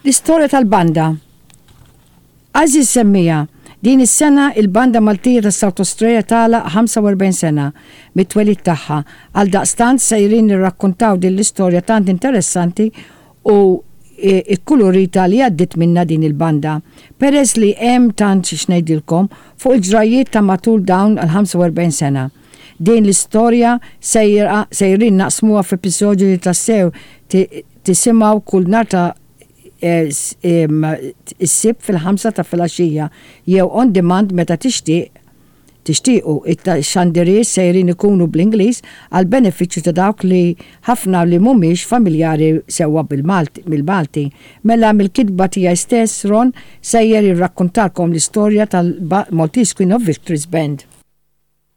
L-istorja tal-banda. Għeżież semmiegħa, din is-sena il-Banda Maltija ta' South Australia tagħlaq 45 sena mit-twelid tagħha, għaldaqstant sejrin nirrakkuntaw din l-istorja tant interessanti u kkulurita li għaddiet minnha din il-banda. Peress li hemm tant x'ngħidilkom fuq il-ġrajjiet ta' matul dawn l-45 sena. Din l-istorja sejra sejrin naqsmuha f'episodju li tassew tisimgħu kull nhar ta' is-Sibt fil-ħamsa ta' filgħaxija jew on demand meta tixtieq tixtiequ. Ix-xandiriet sejrin ikunu bl-Ingliż għall-benefiċċju ta' dawk li ħafna li mhumiex familjari sewwa bil-Malti. Mela mill-kitba tiegħi stess Ron sejjer jirrakkuntalkom l-istorja tal-Maltese Queen of Victories Band.